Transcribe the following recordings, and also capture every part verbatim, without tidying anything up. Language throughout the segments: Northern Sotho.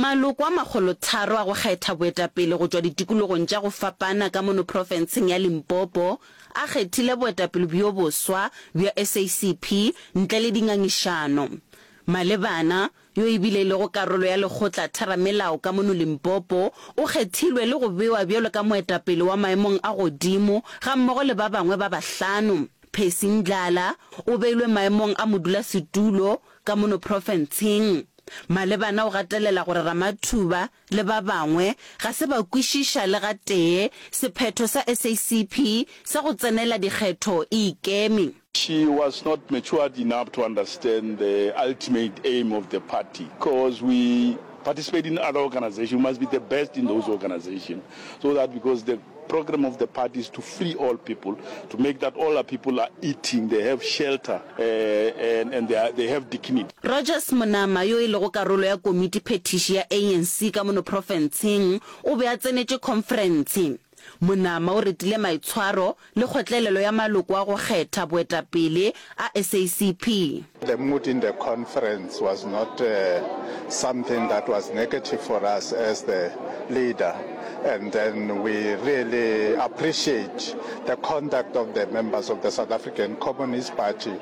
Maloko a makgolotharo a go kgetha boetapele go tšwa ditikologong tša go fapana ka mono profenseng ya Limpopo a kgethile boetapele bjo boswa bja S A C P ntle le dingangišano. Malebana, yo e bile e lego karolo ya lekgotla theramelao ka mono Limpopo, o kgethilwe le go bewa bjalo ka moetapele wa maemong a godimo gammogo le ba bangwe ba bahlano. Percy Ndlala o beilwe maemong a modulasetulo ka mono profenseng. Malebana o gatelela gore Ramathuba le ba bangwe ga se ba kwešiša le gatee sephetho sa S A C P sa go tsenela dikgetho e ikeme. She was not matured enough to understand the ultimate aim of the party, because we participate in other organizations, we must be the best in those organizations, so that because the program of the party is to free all people, to make that all our people are eating, they have shelter, uh, and, and they, are, they have dignity. Rogers Monama yo e lego karolo ya komiti phethiši ya A N C ka mono profenseng o be a tsenetše khonferense. Monama o retile maitshwaro le kgotlelelo ya maloko a go kgetha boetapele a S A C P. The mood in the conference was not uh, something that was negative for us as the leader. And then we really appreciate the conduct of the members of the South African Communist Party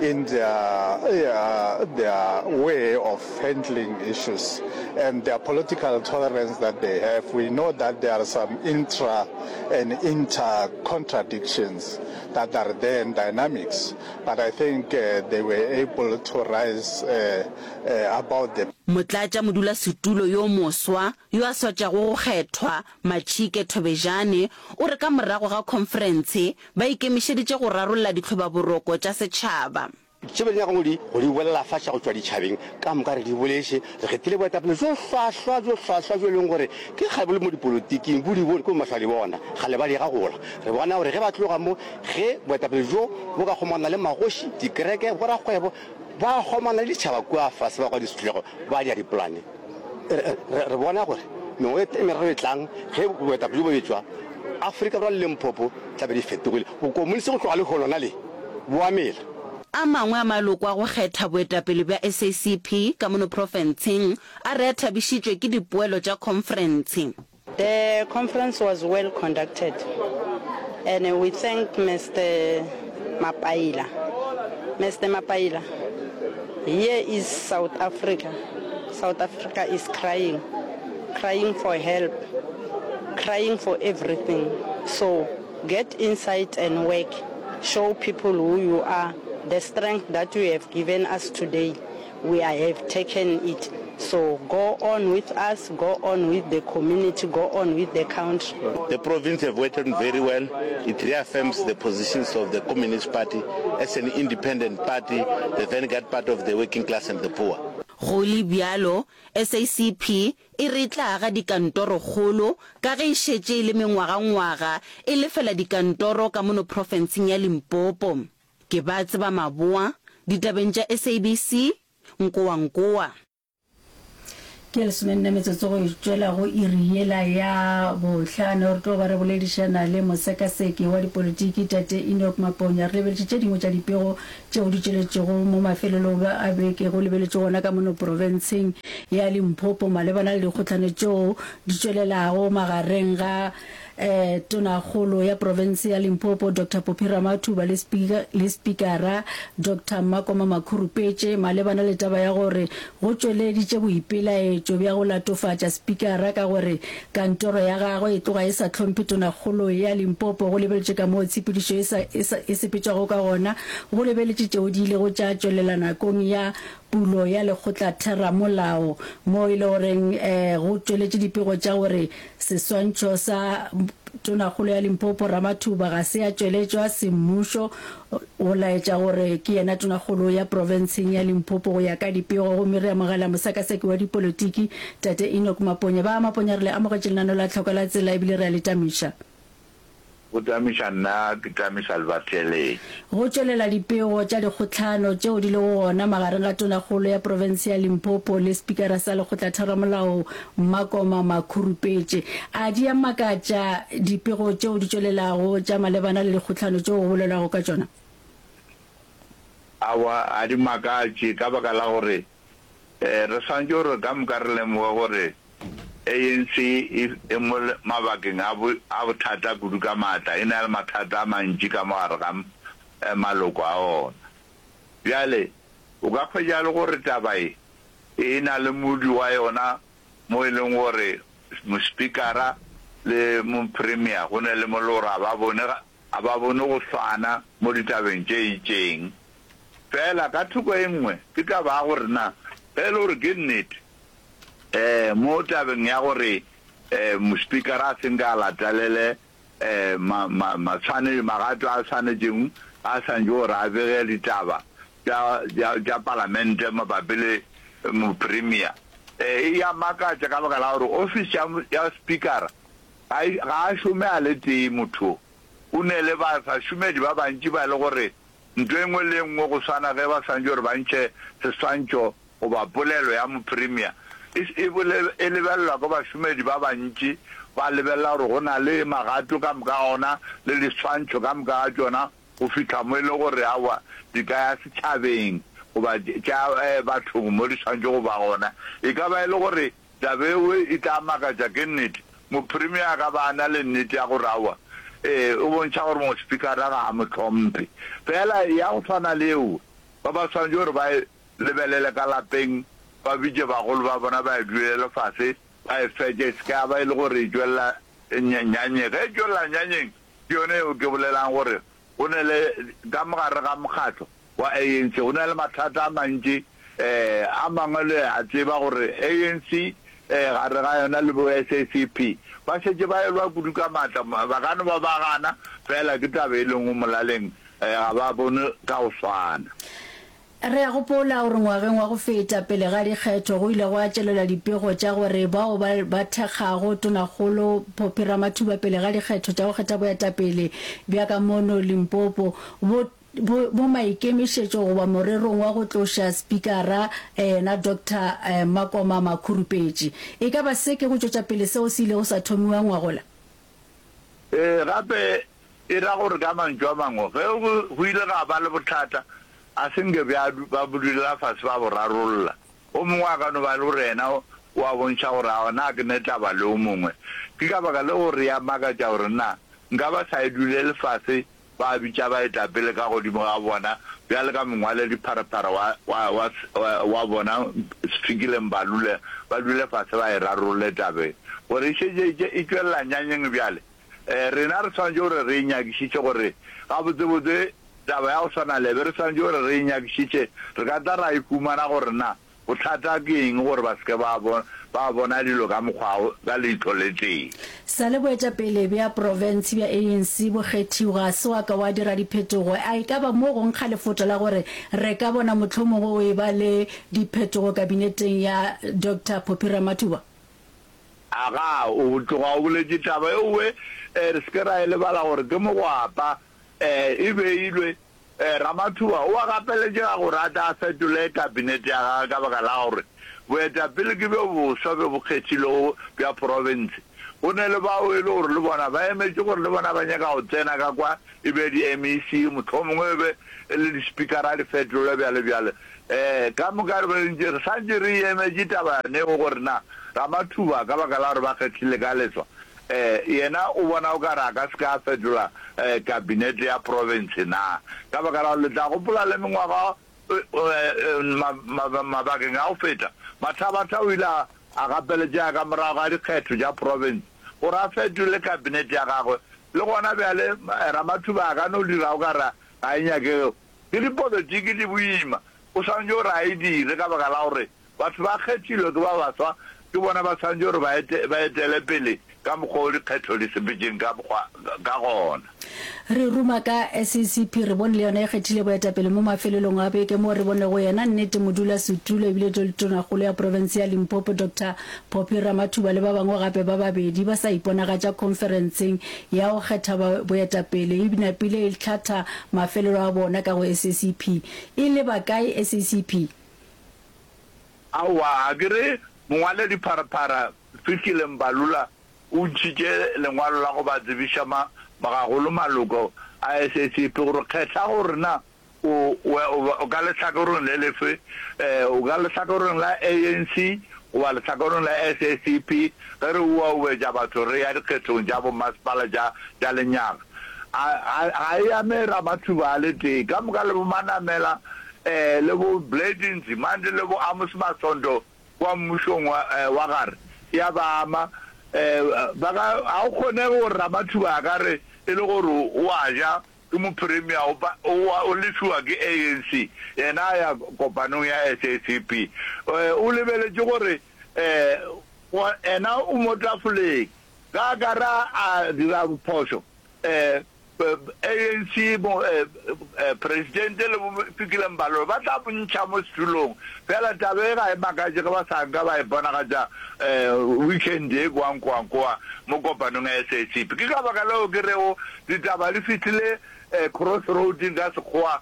in their, uh, their way of handling issues and their political tolerance that they have. We know that there are some intra and inter contradictions that are there in dynamics, but I think uh, they were able to rise uh, uh, about the Motlatša modulasetulo yo moswa yo a swatšago go kgethwa Machike Thobejane o re ka morago ga khonferense ba ikemišeditše go rarolla ditlhobaboroko tša setšhaba. Tše be di nyakang go di go di bolela faša go tšwa ditšhabeng ka moka re di boletše. Re kgethile boetapele bjo hlwahlwa bjo hlwahlwa bjo e leng gore ke kgale bo le mo dipolotiking, bo di bone ke bo mahlo a di bona kgale ba di gagola. Re bona gore ge ba tloga mo, ge boetapele bjo bo ka kgomana le magoši, dikereke, borakgwebo, ba kgomana le ditšhaba kua fase ba kwa disetlego ba dia dipolane. Re, re, re bona gore mengwaga e meraro e tlang ge boetapele bjo bo etšwa Afrika Borwa le Limpopo tla be di fetogile. Bokomonisi go tloga lehono na le bo a mela. A mangwe a maloko a go kgetha boetapele bja S A C P ka mono profenseng a re a thabišitšwe ke dipoelo tša khonferense. The conference was well conducted and we thank Mister Mapaila. Mister Mapaila, here is South Africa. South Africa is crying, crying for help, crying for everything. So get inside and work. Show people who you are. The strength that you have given us today, we have taken it. So go on with us, go on with the community, go on with the country. The province have worked very well. It reaffirms the positions of the Communist Party as an independent party, the vanguard party of the working class and the poor. Go le bjalo, S A C P e re e tla aga dikantorokgolo ka ge e šetše e le mengwagangwaga e lefela dikantoro ka mono profenseng ya Limpopo. Ke ba tseba Maboa, ditabeng tša S A B C, Nkowankowa. Ke lesomenne metsotso go tšwela go iri yela ya bohlano. Re tlo ba re boledišana le mosekaseki wa dipolitiki tate Enoch Maponya. Re lebeletše tše dingwe tša dipego tšeo di tšweletšego mo mafelelong a beke go lebeletše gona ka mono profenseng ya Limpopo malebana le dikgohlano tšeo di tšwelelago magareng ga eh, tonakgolo ya profense ya Limpopo Doctor Phophi Ramathuba le speaker, le speakera Doctor Makoma Makhurupetše malebana le taba ya gore go tšweleditše boipelaetšo bja go latofatša speakera ka gore kantoro ya gagwe e tloga e sa hlomphe tonakgolo ya Limpopo go lebeletše ka moo tshepedišo e sa, e sa, e sepetšwago ka gona go lebeletše tšeo di ilego tša tšwelela nakong ya pulo ya lekgotlatheramolao mo e le goreng eh, go tšweletše dipego tša gore seswantšho sa tonakgolo ya Limpopo Ramathuba ga se a tšweletšwa semmušo go laetša gore ke yena tonakgolo ya profenseng ya Limpopo go ya ka dipego. Gomme re amogela mosekaseki wa dipolitiki tate Enoch Maponya. Ba Maponya, re le amogetše lenaneo la Tlhoko la Tsela ebile re a le tamiša. Go tamiša nna, ke tamiša le batheeletši. Go tšwelela dipego tša dikgohlano tšeo di lego gona magareng ga tonakgolo ya profense ya Limpopo le spikara sa lekgotlatheramolao Makoma Makhurupetše. A di a makatša dipego tšeo di tšwelelago tša malebana le dikgohlano tšeo go bolelwago ka tšona? Aowa, a di makatše ka baka la gore Re swanetše gore ka moka re lemoge gore A N C e e mo mabakeng a a bothata kudu ka maatla, e na le mathata a mantši ka mo gare ga maloko a ona. Bjale, o ka hwetša le gore taba ye e na le modu wa yona mo e leng gore Mospikara le Mopremier go ne le mo le gore ga ba bone, ga ba bone go swana mo ditabeng tše itšeng. Fela ka thoko e nngwe ke taba ya gore na ge e le gore ke nnete um mo tabeng ya gore um Mospikara a se nke a latelele um ma, ma, matshwane, magato a swanetšeng a swanetše gore a bege ditaba tša, tša, tša palamente mabapi le Mopremier. E ya makatša ka baka la gore ofisi ya, ya Spikara ga e, ga a šome a le tee motho. O ne le ba, bašomedi ba bantši ba e le gore ntho e nngwe le e nngwe go swana ge ba swanetše gore ba ntšhe seswantšho goba polelo ya Mopremier e, e, bole, e lebelelwa ke bašomedi ba bantši, ba lebelela gore go na le magato ka moka ga ona le diswantšho ka moka ga tšona go fihla mo e le gore aowa di ka ya setšhabeng goba tša bathong mo di swanetše go ba gona. E ka ba e le gore taba yeo e tla makatša, ke nnete. Mopremier a ka ba a na le nnete ya gore aowa, ee, o bontšha gore mospikara ga a mo hlomphe. Fela ya go swana le yeo, ba ba swanetše gore ba e lebelele ka lapeng, ba bitše bagolo ba bona ba e dulele fase, ba e fetše, e se ka ya ba e le gore e tšwelela nyanyeng. Ge e tšwelela nyanyeng, ke yona yeo ke bolelang gore go ne le, ka mo gare ga mokgatlo wa A N C, go na le mathata a mantši. A mangwe le a tseba gore A N C gare ga yona le bo S A C P ba šetše ba elwa kudu ka maatla, ba ka no ba ba gana, fela ke taba e lengwe molaleng, ga ba bone ka go swana. Re a gopola gore ngwageng wa go feta pele ga dikgetho go ile gwa tšwelela dipego tša gore bao ba ba thekgago Tonakgolo Phophi Ramathuba pele ga dikgetho tša go kgetha boetapele bja ka mono Limpopo bo bo bo maikemišetšo goba morerong wa go tloša Spikara yena Doctor Makoma Makhurupetše. E ka ba se ke go tšwetša pele seo se ilego sa thomiwa ngwagola? Ee, gape e ra gore ka mantšu a mangwe, ge go ile ga ba le bothata, a se nke bja ba bo dulela fase ba bo rarolla. O mongwe a ka no ba e le gore yena o a bontšha gore aowa na ke ne taba le o mongwe. Ke ka baka leo re ya makatša gore na nka ba sa e dulele fase ba bitša baetapele ka godimo ga bona bjale ka mongwaledipharephare wa, wa, wa, wa bona Sfikile Mbalula, ba dule fase ba e rarolle taba e. Gore e šetše e tšwelela nyanyeng bjale, rena re swanetše gore re e nyakišiše gore gabotsebotse taba ya go swana le be re swanetše gore re e nyakišiše, re ka tla ra e humana gore na bothata ke eng gore ba se ke ba ba bona dilo ka mokgwa ka leihlo le tee. Sa le boetapele bja profense bja A N C bo kgethiwa, ga se wa ka wa dira diphetogo. A e ka ba mo go nkga lefotla la gore re ka bona mohlomongwe go eba le diphetogo kabineteng ya Doctor Phophi Ramathuba? Aga, o tloga o boletše taba eowe, re se ke ra e lebala gore ke mogwapa e beilwe. Ramathuba o a gapeletšega gore a tle a fetole kabinete ya gagwe ka baka la gore boetapele ke bjo boswa bjo bo kgethilwego bja profense. Go ne le bao e le gore le bona ba emetše gore le bona ba nyaka go tsena ka kwa e be di M E C, mohlomongwe e be e le dispikara di fetolwe bjale bjale. Ka moka re be re ntše re sa ntše re emetše taba yone gore na Ramathuba ka baka la gore ba kgethile ka leswa yena o bona o ka re a ka se ke a fetola kabinete ya profense na? Ka baka la gore le tla gopola le mengwaga mabakeng a go feta, Mathabatha o ile a gapeletšega ka morago ga dikgetho tša profense gore a fetole kabinete ya gagwe. Le gona bjale Ramathuba a ka no dira o ka re ga e nyakege. Ke dipolotiki di boima, o swanetše gore a e dire ka baka la gore batho ba kgethilwe ke ba baswa, ke bona ba swanetše gore ba ete, ba etele pele ka mokgwa wo dikgetho di sepetšeng ka mokgwa ka gona. Re ruma ka S E C P, re bone le yona e kgethile boetapele mo mafelelong a beke moo re bonego yena nnete modulasetulo ebile le tonakgolo ya profense ya Limpopo Doctor Phophi Ramathuba le ba bangwe gape ba babedi ba sa iponagatša khonferenseng ya go kgetha boetapele e napile e hlatha mafelelo a bona ka go S E C P. E leba kae S E C P? Aowa, ga ke re mongwaledipharephare Fikile Mbalula o ntšhitše lengwalo la go ba tsebiša ma, magagolo maloko a S A C P gore kgetha gore na O, o, o ka lehlakoreng le lefe, o ka lehlakoreng la A N C goba lehlakoreng la S A C P, ge re uaubetša batho re ya dikgethong tša bommasepala tša, tša lenyaga. A, a, ga e ame Ramathuba a le tee, ka moka le bo Manamela, eh, le bo Blade Nzimande le bo Amos Masondo kua mmušong wa, eh, wa gare, e a ba ama. Eh, ba ka, ga go kgonege gore Ramathuba a ka re e le gore o a ja, Ke mopremia o o lefiwa ke A N C, yena a ya kopanong ya S A C P. O lebeletše gore yena o mo tafoleng, ge a ka re a dira phošo, A N C, presidente le bo Fikile Mbalula ba tla mo ntšha mo setulong. Fela taba e ga e makatše ge ba sa nka ba e bonagatša weekend ye kwa Nkoankoa mo kopanong ya S A C P. Ke ka baka leo ke rego Ditaba di fihlile cross roading ka Sekgowa,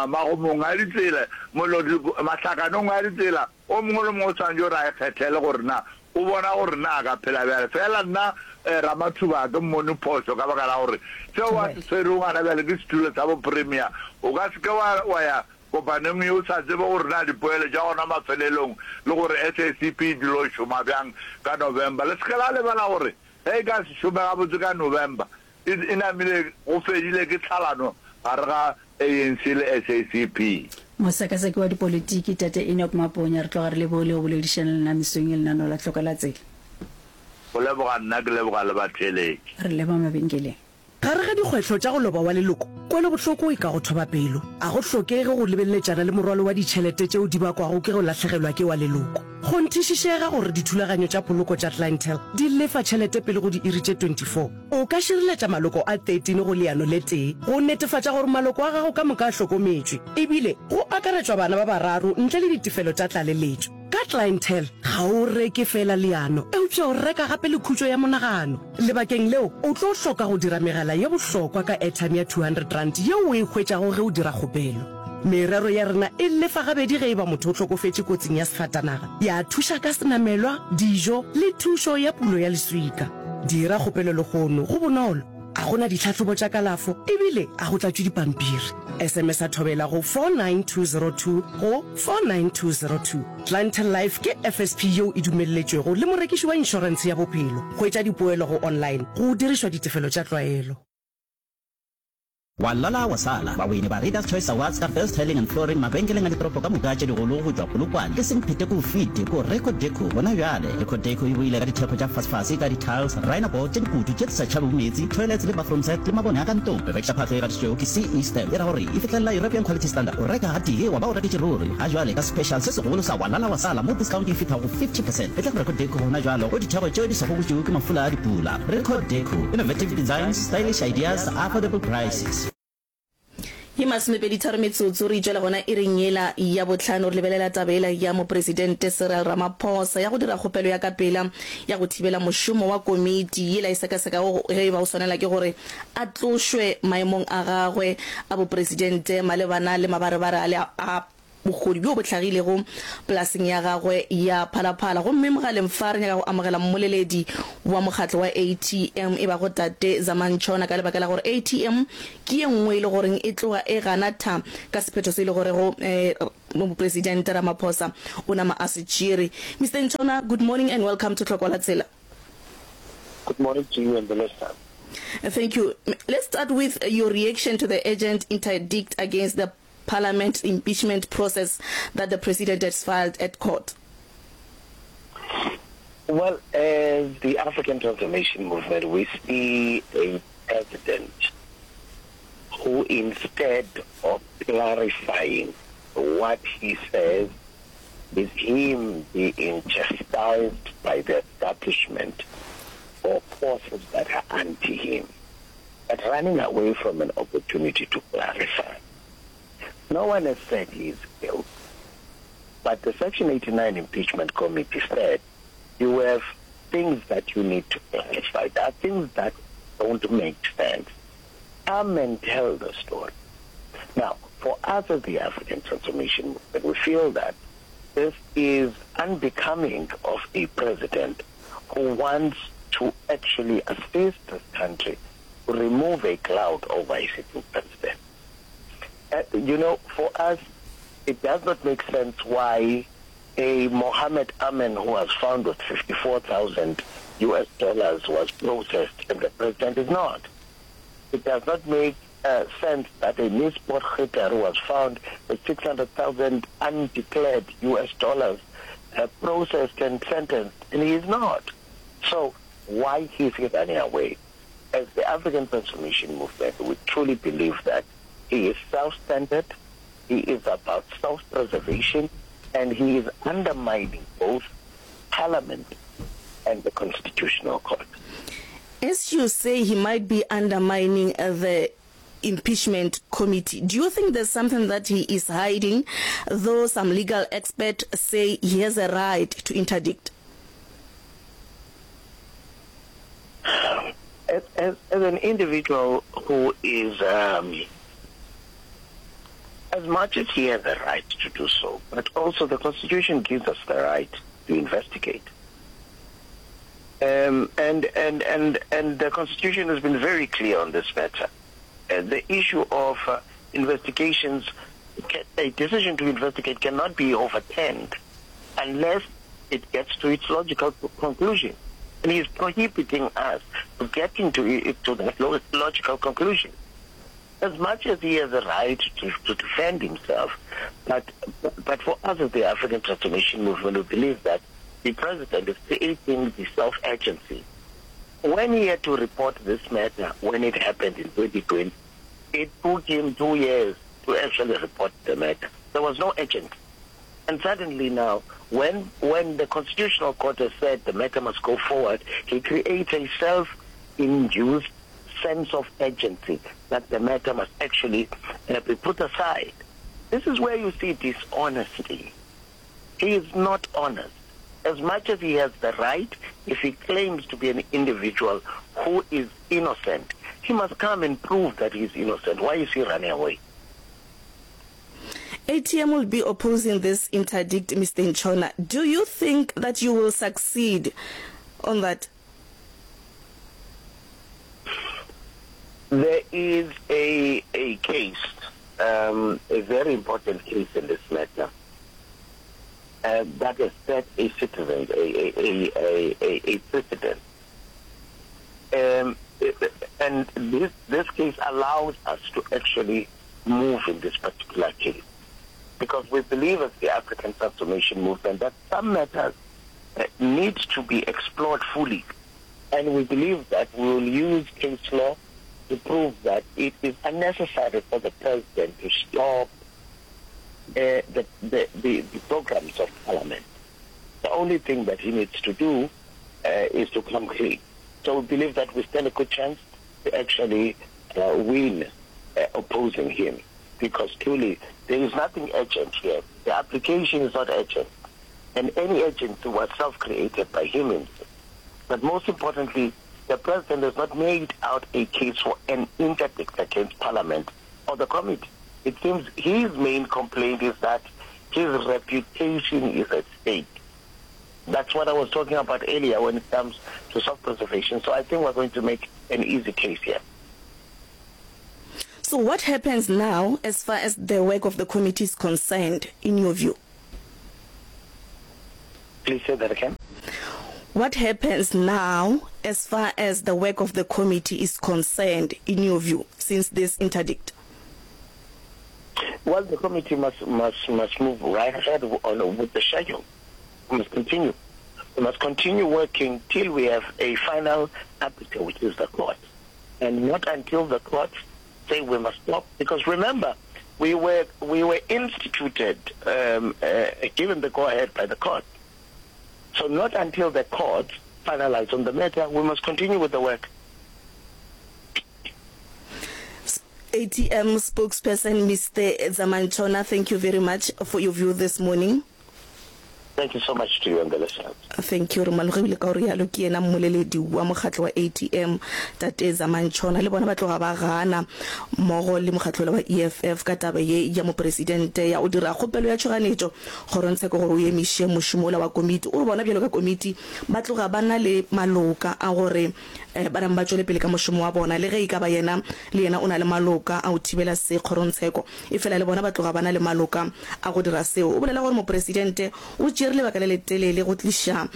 magomong a ditsela, mahlakanong a ditsela, o mongwe le mongwe o swanetše gore a ikgethele gore na o bona gore na a ka phela bjale. Fela nna Ramathuba ga ke mmone phošo ka baka la gore seo a se swerego gona bjale ke setulo sa bo-premier. O ka se ke wa ya kopanong ye o sa tsebe gore na dipoelo tša gona mafelelong le gore S A C P e dilo šoma bjang ka November. Le se ke la lebala gore ge e ka se šome gabotse ka November, E, e namile go fedile ke tlhalano gare ga A N C le S A C P. Mosekaseki wa dipolitiki, Tate Enoch Maponya, re tloga re lebogile go boledišana le nna mesong ye lenaneo la Hloka la Tsela. Go leboga nna, ke leboga le batheeletši. Re leba mabenkeleng. Gare ga dikgwehlo tša go loba wa leloko, kwelobohloko e ka go thoba pelo. A go hlokege go lebeletšana le morwalo wa ditšhelete tšeo di bakwago ke go lahlegelwa ke wa leloko. Kgonthišišega gore dithulaganyo tša poloko tša Clientele di lefa tšhelete pele go diiri tše twenty-four. O ka šireletša maloko a thirteen go leano le tee go netefatša gore maloko a gago ka moka a hlokometšwe, ebile go akaretšwa bana ba bararo ntle le ditefelo tša tlaleletšo. Ka Clientele, ga o reke feela leano, eupša o reka gape le khutšo ya monagano. Lebakeng leo, o tlo hloka go dira megala ye bohlokwa ka airtime ya two hundred rand yeo o e hwetšago ge o dira kgopelo. Merero ya rena e lefa gabedi ge e ba motho o hlokofetše kotsing ya sefatanaga, ya thuša ka senamelwa, dijo le thušo ya pulo ya leswika. Dira kgopelo lehono, go bonolo, a go na ditlhahlobo tša kalafo ebile a go tlatšwe dipampiri. S M S a thobela go four nine two zero two go four nine two zero two. Clientele Life ke F S P yeo e dumelletšwego le morekiši wa inšorentshe ya bophelo. Hwetša dipoelo go online go dirišwa ditefelo tša tlwaelo. Wa lala wa sala. Bawini ba Readers Choice Awards ka Best Tiling and Flooring mabenkeleng a ditoropo ka moka tše digolo go tšwa Polokwane ke Semphete ko Fiti ko Reco Deco gona bjale. Reco Deco e boile ka ditheko tša fasefase ka di-tiles, rhino board tše dikutu tše di sa tšhabego meetse, toilets le bathroom set le mabone a ka ntlong. Bebekša phahlo e gatišitšwego ke C E Stamp e ra gore e fihlelela European Quality Standard. O reka gatee wa ba o reketše ruri. Ga jwale ka special se segolo sa wa lala wa sala mo discount e fihla go fifty percent. Etla go Reco Deco gona bjalo go ditheko tšeo di sa gobotšwego ke mafula a dipula. Reco Deco, innovative designs, stylish ideas, affordable prices. Ye masomepedi-tharo metsotso re itšwela gona iring yela ya bohlano re lebelela taba yela ya Mopresidente Cyril Ramaphosa ya go dira kgopelo ya ka pela ya go thibela mošomo wa komiti yela e sekasekago ge e ba o swanela ke gore a tlošwe maemong a gagwe a bopresidente malebana le mabarebare ale a bohodu bjo bo hlagilego polaseng ya gagwe ya Phalaphala. Gomme mogaleng fa re nyaka go amogela mmoleledi wa mokgatlo wa A T M e bago Tate Zama Ntshona ka lebaka la gore A T M ke ye nngwe e le goreng e tloga e gana tha ka sephetho se e le gorego Mopresidente Ramaphosa o nama a se tšere. Mister Ntshona, good morning and welcome to Tlhokwa la Tsela. Good morning to you and the listeners. Thank you. Let's start with your reaction to the urgent interdict against the Parliament impeachment process that the president has filed at court. Well, as the African Transformation Movement, we see a president who, instead of clarifying what he says, is him being chastised by the establishment or forces that are anti him, but running away from an opportunity to clarify. No one has said he is guilty, but the Section eighty-nine Impeachment Committee said you have things that you need to clarify. There are things that don't make sense. Come and tell the story. Now, for us as the African Transformation Movement, we feel that this is unbecoming of a president who wants to actually assist this country to remove a cloud over a sitting president. Uh, you know, for us, it does not make sense why a Mohammed Amin who was found with fifty-four thousand U S dollars was processed and the president is not. It does not make, uh, sense that a Miss Potgieter who was found with six hundred thousand undeclared U S dollars, uh, processed and sentenced, and he is not. So why is he running away? As the African Transformation Movement, we truly believe that he is self-centered, he is about self-preservation, and he is undermining both Parliament and the Constitutional Court. As you say, he might be undermining, uh, the impeachment committee. Do you think there's something that he is hiding, though some legal experts say he has a right to interdict? As, as, as an individual who is, um, as much as he has the right to do so, but also the Constitution gives us the right to investigate. Um, and, and, and, and the Constitution has been very clear on this matter. Uh, the issue of, uh, investigations, a decision to investigate cannot be overturned unless it gets to its logical conclusion. And he is prohibiting us from getting to, to that logical conclusion. As much as he has a right to, to defend himself, but, but for us as the African Transformation Movement, we believe that the president is creating the self-agency. When he had to report this matter, when it happened in twenty twenty, it took him two years to actually report the matter. There was no agent. And suddenly now, when, when the Constitutional Court has said the matter must go forward, he creates a self-induced sense of urgency that the matter must actually, uh, be put aside. This is where you see dishonesty. He is not honest. As much as he has the right, if he claims to be an individual who is innocent, he must come and prove that he is innocent. Why is he running away? A T M will be opposing this interdict, Mister Ntshona. Do you think that you will succeed on that? There is a, a case, um, a very important case in this matter, uh, that has set a citizen, a, a, a, a, a, a precedent. Um, and this, this case allows us to actually move in this particular case, because we believe as the African Transformation Movement that some matters, uh, need to be explored fully, and we believe that we will use case law to prove that it is unnecessary for the president to stop, uh, the, the, the, the programs of Parliament. The only thing that he needs to do, uh, is to come clean. So we believe that we stand a good chance to actually, uh, win, uh, opposing him, because truly there is nothing urgent here. The application is not urgent, and any urgency was self-created by him himself. But most importantly, the president has not made out a case for an interdict against Parliament or the committee. It seems his main complaint is that his reputation is at stake. That's what I was talking about earlier when it comes to self-preservation. So I think we're going to make an easy case here. So what happens now as far as the work of the committee is concerned, in your view? Please say that again. What happens now as far as the work of the committee is concerned, in your view, since this interdict? Well, the committee must, must, must move right ahead on with the schedule. We must continue. We must continue working till we have a final arbiter, which is the court. And not until the court say we must stop. Because remember, we were, we were instituted, um, uh, given the go-ahead by the court. So not until the court finalize on the matter, we must continue with the work. A T M spokesperson, Mister Zama Ntshona, thank you very much for your view this morning. Thank you so much to you and the listeners. Thank you. Re malogile ka go rialo ke yena mmoleledi wa mokgatlo wa A T M Tate Zamani Ntshona le bona ba tloga ba gana mmogo le mokgatlo wola wa E F F ka taba ye ya mopresidente ya go dira kgopelo ya tšhoganetšo kgorongtsheko gore o emiše mošomo wola wa komiti. O re bona bjalo ka komiti ba tloga ba na le maloka a gore ba name ba tšwele pele ka mošomo wa bona le ge e ka ba yena le yena o na le maloka a go thibela se kgorongtsheko efela le bona ba tloga ba na le maloka a go dira seo. O bolela gore mopresidente o tšere lebaka le letelele go tliša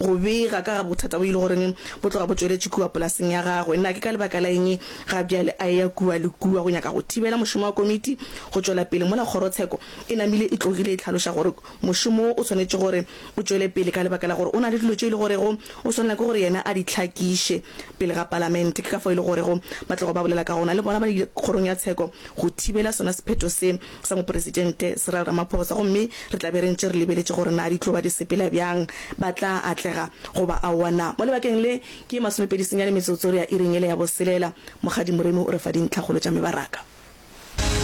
go bega ka ga bothata bo e le goreng bo tloga bo tšweletše kua polaseng ya gagwe. Na ke ka lebaka la eng ga bjale a eya kua le kua go nyaka go thibela mošomo wa komiti go tšwela pele mola kgorotsheko e namile e tlogile e hlaloša gore mošomo wo o swanetše gore o tšwele pele ka lebaka la gore o na le dilo tše e le gorego o swanela ke gore yena a di hlakiše pele ga palamente. Ke ka fao e le gorego ba tlogo ba bolela ka gona le bona ba ile kgorong ya tsheko go thibela sona sephetho se sa Mopresidente Cyril Ramaphosa gomme re tla be re ntše re lebeletše gore na di tlo ba di sepela bjang, ba tla atlega goba aowa na. Mo lebakeng le ke masomepedi senyane metsotso re ya iring yela ya boselela. Mokgadi Moremi o re fa dintlhakgolo tša mebaraka.